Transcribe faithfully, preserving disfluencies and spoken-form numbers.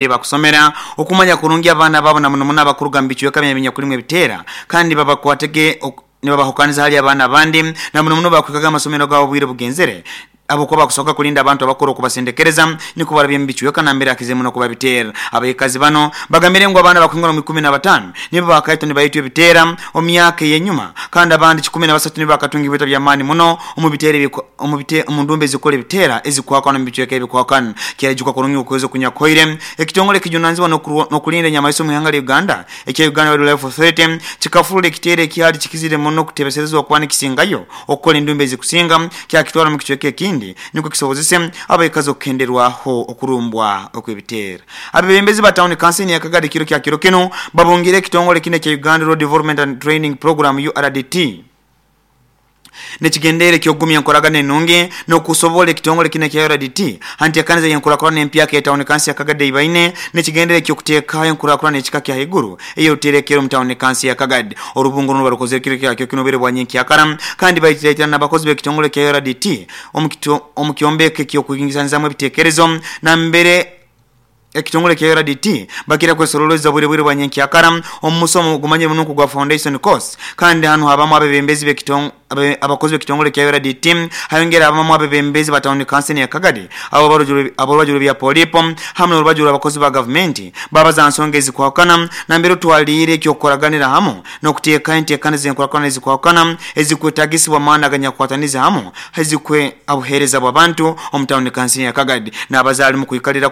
Bakusomera okumanya kurungi abaana baabo na muno muno abakuruga mu bicweka bya ebiteera, kandi babakwatege nibabahukaniza hali abaana abandi, na muno muno bakwikaga amasomero gaabo obwire bugenzere ahabwokuba bakusoboka kulinda abantu abakuru okubasendekereza nikwo barabye mu bicweka nambere hakize muno kuba biteera. Abaikazi bano bagambire ngu abaana bakuhingura mu ikumi na bataano nibo bakaitwa nibaitwa ebiteera omu myaka ey'enyuma, kandi abandi kikumi na basatu nibo bakatunga ebihita by'amaani muno omu biteera omu ndumba ezikora ebiteera ezikwakana omu bicweka ebikwakana. Kyaijuka kurungi okwezi okunyakuhoire, ekitongole ekijunanizibwa n'okulinda enyamaiswa omu ihanga lya Uganda ekya Uganda Wildlife Authority kikafurura ekiteera ekyali kikizire muno okutebeserezibwa kuba nikisingayo okukora endumba ezikusinga, kyakitwara omu kicweka ekindi nikwo kisobozese abaikazi okukenderwaho okurumbwa okw'ebiteera. Abebembezi ba tawuni kanso ya Kagadi kiro kya kiro kinu babungire ekitongole kinu ekya Uganda Road Development and Training Program U R D T nekigendere ekyokugumya enkoragana enungi n'okusobola ekitongole kinu ekya U R D T hanteekaniza y'enkurakurana empyaka ya tawuni kanso ya Kagadi eibaine nekigendere ekyokuteekaho enkurakurana ekika kya haiguru ey'oruterekero omu tawuni kanso ya Kagadi. Orubungo runo barukozere kiro kya kiro kinu obwire bwa nyenkyakara, kandi baitiraitira n'abakozi b'ekitongole kya U R D T omu kyombeko eky'okwingisanizamu ebitekerezo, nambere ekitongole kya U R D T bakira kwesoroleza bwire bwire bwa nyenkyakara omu musomo gumanyire muno gwa foundation course. Kandi hanu habamu abebembezi abakozi b'ekitongole kya U R D T, hayongera habamu abebembezi ba tawuni kanso ya Kagadi, ab'orubaju rw'ebya polipo hamwe n'orubaju rw'abakozi ba gavumenti, babaza nsonga ezikwahukana, nambere otwaliire ekyokukoraganira hamu n'okuteekaho enteekaniza enkurakurana ezikwahukana ezikwetagisibwa amaani aganyakukwataniza hamu ezikwe abuheereza bw'abantu omu tawuni kanso ya Kagadi n'abazaali mu kwikalira.